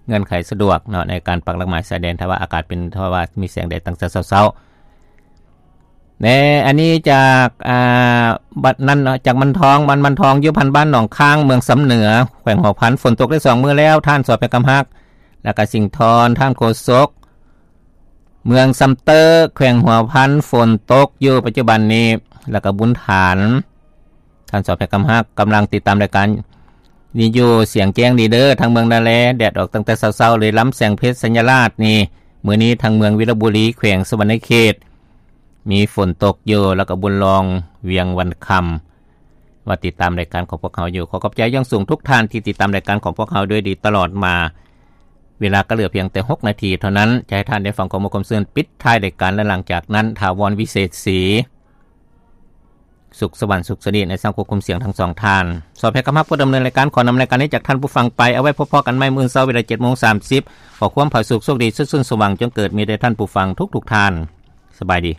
ເງື່ອນໄຂສະດວກເນາະ ໃນການປັກຫຼັກໝາຍຊາຍແດນ ຖ້າວ່າອາກາດເປັນ ຖ້າວ່າມີແສງແດດຕັ້ງແຕ່ເຊົ້າໆ. ແນ ອັນນີ້ຈາກ ອ່າ ບ້ານນັ້ນເນາະ ຈາກມັນທອງ ບ້ານມັນທອງ ຢູ່ພັນບ້ານໜອງຄ້າງ ເມືອງຊຳເໜືອ ແຂວງຫົວພັນ ຝົນຕົກໄດ້ສອງມື້ແລ້ວ ທ່ານ ສອບແພກຳຮັກ ແລ້ວກະສິງທອນ ທ່ານໂຄສົກ ເມືອງຊຳເຕີ ແຂວງຫົວພັນ ຝົນຕົກຢູ່ປັດຈຸບັນນີ້ ແລ້ວກະບຸນຖານ ທ່ານ ສອບແພກຳຮັກ ກຳລັງຕິດຕາມລາຍການນີ້ຢູ່ ສຽງແຈ້ງດີເດີ ທາງເມືອງນາແລ ແດດອອກຕັ້ງແຕ່ເຊົ້າໆເລີຍ ລຳແສງເພັດ ໄຊຍະລາດນີ້ ມື້ນີ້ທາງເມືອງວິລະບູລີ ແຂວງສະຫວັນນະເຂດ ມີຝົນຕົກຢູ່ ແລ້ວກະບຸນລອງ ວຽງວັນຄຳ ວ່າຕິດຕາມລາຍການຂອງພວກເຮົາຢູ່. ຂໍຂອບໃຈຢ່າງສູງທຸກທ່ານທີ່ຕິດຕາມລາຍການຂອງພວກເຮົາໂດຍດີຕະຫຼອດມາ. ເວລາກໍເຫຼືອພຽງແຕ່ຫົກນາທີເທົ່ານັ້ນ ຈະໃຫ້ທ່ານໄດ້ຟັງຂໍ້ມູນຄວາມຊື່ນປິດທ້າຍລາຍການ ແລະ ຫຼັງຈາກນັ້ນ ຖາວອນ ວິເສດສີ ສຸກສະຫວັນ ສຸກສະດີ ໃນສັງຄົມຄວາມສ່ຽງທັງສອງທ່ານ. ສອບແພກຳຮັກ ຜູ້ດຳເນີນລາຍການ ຂໍນຳລາຍການນີ້ຈາກທ່ານຜູ້ຟັງໄປ. ເອົາໄວ້ພົບພໍ້ກັນໃໝ່ມື້ເສົາເວລາເຈັດໂມງສາມສິບ. ຂໍຄວາມຜາສຸກໂຊກດີ ຊຸດຊື່ນສະຫວ່າງ ຈົ່ງເກີດມີແດ່ທ່ານຜູ້ຟັງທຸກໆທ່ານ. ສະບາຍດີ.